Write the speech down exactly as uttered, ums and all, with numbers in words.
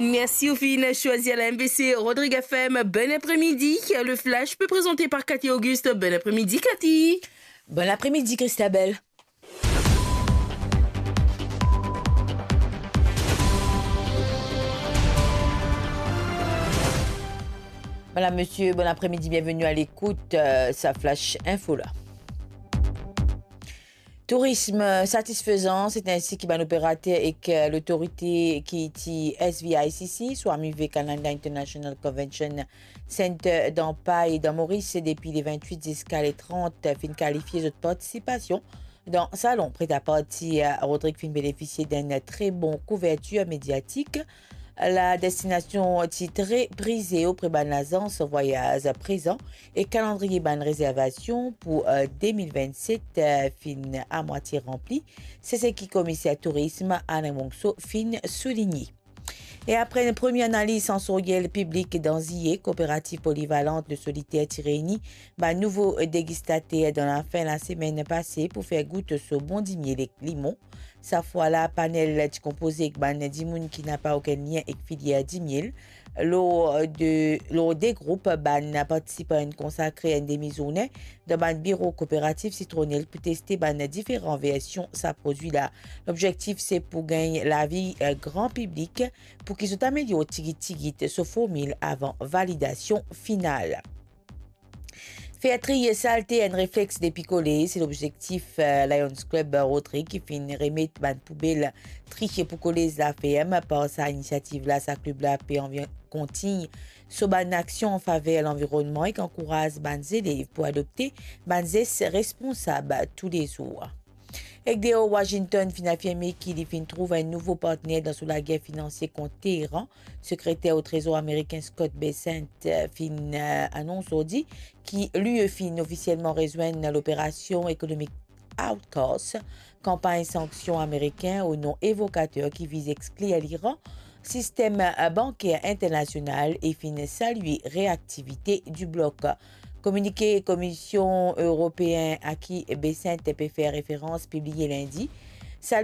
Mersi, ou finn swazir la M V C Rodrigue F M. Bon apremidi. Le Flash pe prezante par Cathy Auguste. Bon apremidi, Cathy. Bon apremidi, Christabel. Madam, mesie, bon apremidi, bienveni a lekout, euh, sa Flash Info la. Tourism satisfezan, se ensi ki bann operater ek, euh, lotorite ki ti S V I C C, Swami Vivekananda International Convention Center dan Pai, dan Moris, depi le vintwit ziska le trant, finn kalifie zot partisipasion dan salon pret-a-partir. Rodrigue finn benefisie d'enn tre bon kouvertir mediatik. La destinasion ti tre prize opre bann lazans vwayaz prezan e kalandriye bann rezervasion pou, euh, de mil vennset, euh, finn amwatie ranpli. Se seki komiser tourism Alain Monxo finn souligne. E apre enn premie analiz sansoryel piblik dan Ziye, Kooperativ Polivalent Le Solitaire ti reyni bann nouvo degistater dan lafin lasemenn pase pou fer gout so bon dimiel ek limon. Sa fwa la, panel ti konpoze ek bann dimoun ki napa okenn lien ek filier dimiel. Lor de, lor de group, bann partisipan inn konsakre enn demi zourne dan bann biro Kooperativ Sitronel pou teste bann diferan version sa prodwi la. Lobzektif se pou gagn lavi, eh, gran piblik pou ki zot amelior tigit tigit so formil avan validasion final. Fer tri salte enn reflex depi kolez, se lobzektif, eh, Lions Club Rodrigue ki finn remet bann poubel triye pou kolez Laferm. Par sa inisiativ la, sa klib la pe anvi kontign so bann aksion an faver lanvironnman ek ankouraz bann zelev pou adopte bann zes responsab toulezour. Ek deor, Washington finn afirme ki li finn trouv enn nouvo partner dan so lager finansie kont Teheran. Sekreter o Trezor amerikin Scott Bessent, eh, finn, eh, anons zordi ki li finn ofisielman rezwenn loperasion ekonomik AUKUS, kanpagn sanksion amerikin o non evokater ki viz exklir Liran sistem, eh, banker internasional e finn salie reaktivite di blok. Kominike Komision Eropeen a ki Bessent pe fer referans, pibliye Lindi,